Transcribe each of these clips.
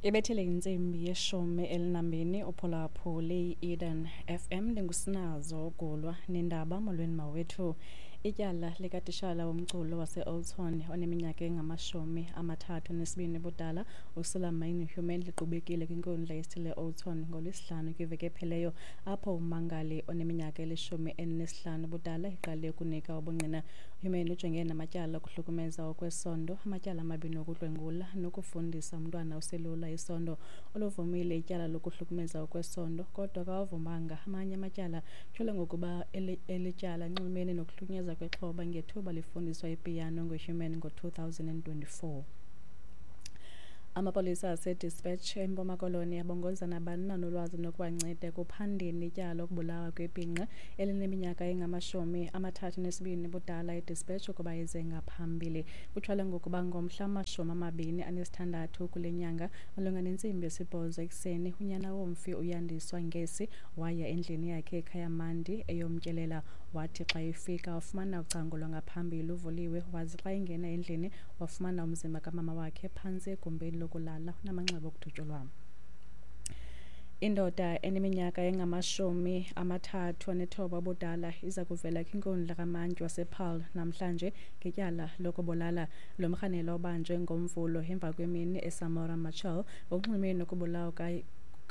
Ibethile intsimbi ye-12 uphulaphuli i-Eden FM. Ndingusinazo Gulwa nendaba. Molweni mawethu. Ityala likatishala womculo wase-Oudtshoorn oneminyaka engama-32 ubudala uSuleiman Human liqhubekile kwinkundla yesithili e-Oudtshoorn ngoLwesihlanu kwiveki ephelileyo, apho ummangali oneminyaka eli-15 ubudala eqale ukunika ubungqina. Human ujongene namatyala okuhlukumeza okwesondo, amatyala amabini okudlwengula nokufundisa umntwana oselula isondo. Uluvumile ityala lokuhlukumeza okwesondo kodwa akawavumanga amanye amatyala. Tyholwa ngokuba eli tyala linxulumene nokuhlukunyezwa kwexhoba ngethuba lifundiswa ipiyano nguHuman ngo-2024. Amapolisa aseDispatch eMpuma Koloni abongoza nabani na onolwazi nokubanceda ekuphandeni ityala lokubulawa kwebhinqa elineminyaka engama-32 ubudala eDispatch ukuba ize ngaphambili. Kutyholwa ngokuba ngomhla wama-26 kule nyanga malunga nentsimbi yesibhozo ekuseni, unyana womfi uYandiswa Ngesi waya endlini yakhe eKhayamandi eyomtyelela. Wathi xa efika wafumana ucango lwangaphambili luvuliwe, waze xa engena endlini wafumana umzimba kamama wakhe phantsi egumbini lokulala unamanxeba okudutyulwa. Indoda eneminyaka engama-39 ubudala iza kuvela kwinkundla kamantyi wasePaarl namhlanje ngetyala lokubulala. Lo mrhanelwa ubanjwe ngoMvulo emva kwemini eSamora Machel ngokunxulumene nokubulawa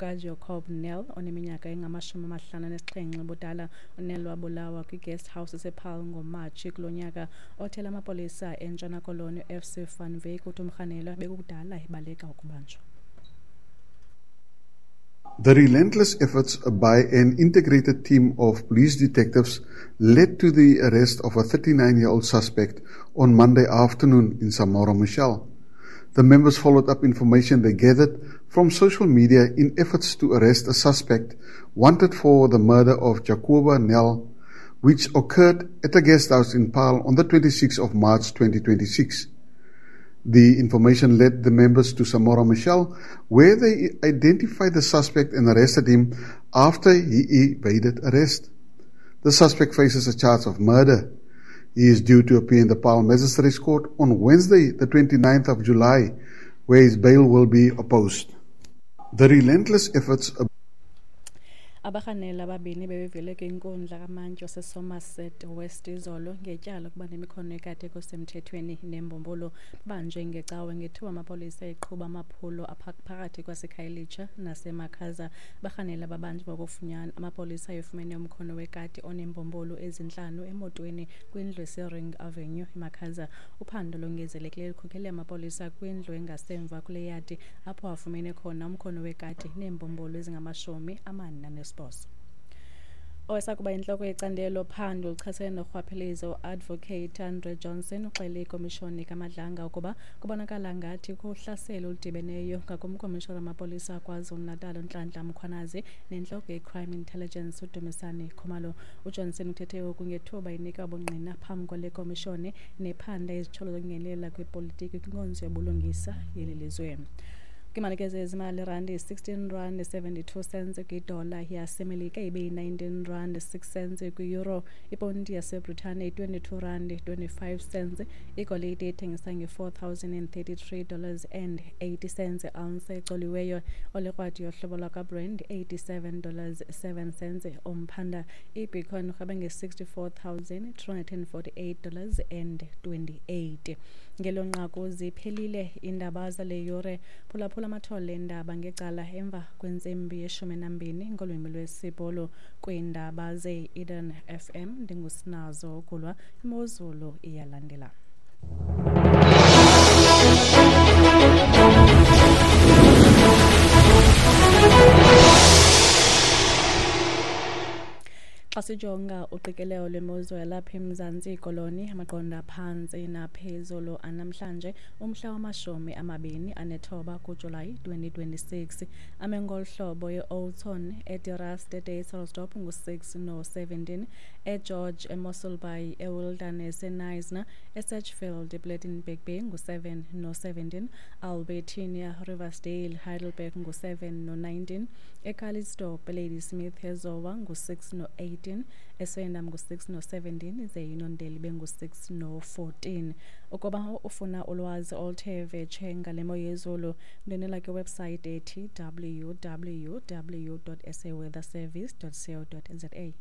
kaJacob Nel oneminyaka engama-57 ubudala. UNel wabulawa kwi-guest house esePaarl ngoMatshi kulo nyaka. Othela amapolisa eNtshona Koloni uFC van Wyk uthi umrhanelwa bekukudala ebaleka ukubanjwa. The relentless efforts by an integrated team of police detectives led to the arrest of a 39-year-old suspect on Monday afternoon in Samora Machel. The members followed up information they gathered from social media in efforts to arrest a suspect wanted for the murder of Jacoba Nel, which occurred at a guest house in Paarl on the 26th of March 2026. The information led the members to Samora Machel, where they identified the suspect and arrested him after he evaded arrest. The suspect faces a charge of murder. He is due to appear in the Paarl Magistrates Court on Wednesday, the 29th of July, where his bail will be opposed. The relentless efforts Abarhanela ababini bebevele kwinkundla kamantyi waseSomerset West izolo ngetyala lokuba nemikhono ekade kusemthethweni nembumbulu. Babanjwe ngecawe ngethuba amapolisa eqhuba amaphulo phakathi kwaseKhayelitsha naseMakhaza. Abarhanela babanjwe ngokufunyana amapolisa efumene umkhono wekati oneembumbulu ezintlanu emotweni kwindlu eseRing Avenue eMakhaza. Uphando longezelekileyo lukhokele amapolisa kwindlu engasemva kule yadi apho afumene khona umkhono wekati neembumbulu ezingama-48. Owayesakuba yintloko yecandelo phando oluchasene norhwaphilizo uAdvocate Andre Johnson uxele ikomishoni kaMadlanga ukuba kubonakala ngathi kukho uhlaselo oludibeneyo ngakumkomishona wamapolisa KwaZulu-Natal uNhlanhla Mkhwanazi nentloko ye-Crime Intelligence uDumisani Khumalo. UJohnson uthethe oku ngethuba enika ubungqina phambi kwale komishoni nephanda izityholo zokungenelela kwepolitiki kwinkonzo yobulungisa yeli lizwe. Kwiimali zezimali, irandi yi-16 rand 72 cents kwidola yaseMelika, ibe yi-19 rand 6 cents kwi-euro. Iponti yaseBritane yi-22 rand 25 cents. Igolide ithengisa nge-$4,033 dollars and 80 cents ounce ecoliweyo. Olikrwadi yohlobo lwakwaBrand 87 dollars 7 cents umphanda. Ibitcoin irhweba nge-$64,248 dollars and 28. Ngelo nqaku ziphelile iindaba zale yure. Phulaphula amathole eendaba ngecala emva kwentsimbi ye-12 ngolwimi lwesiBhulu kwiindaba ze-Eden FM. Ndingusinazo Gulwa. Imozulu iyalandela. Xa sijonga uqikelelo lwemozulu yalapha eMzantsi Koloni, amaqondo aphantsi naphezulu anamhlanje umhla wama-29 kuJulayi 2026 ame ngolu hlobo: e-Oudtshoorn, eDe-Rust, eDysselsdorp ngu-6 no-17, eGeorge, eMossel Bay, eWilderness, eKnysna, eSedgefield, ePlettenberg Bay ngu-7 no-17, Albertinia, Riversdale, Heidelberg ngu-7 no-19, eCalitzdorp, eLadysmith, eZowa ngu-6 no-18. no-15, eSwellendam ngu-6 no-17, ize iNondeli ibe ngu-6 no-14. Ukuba ufuna ulwazi oluthe vetshe ngale mo yezulu, ndwendwela kwiwebsayithi ethi www.saweatherservice.co.za.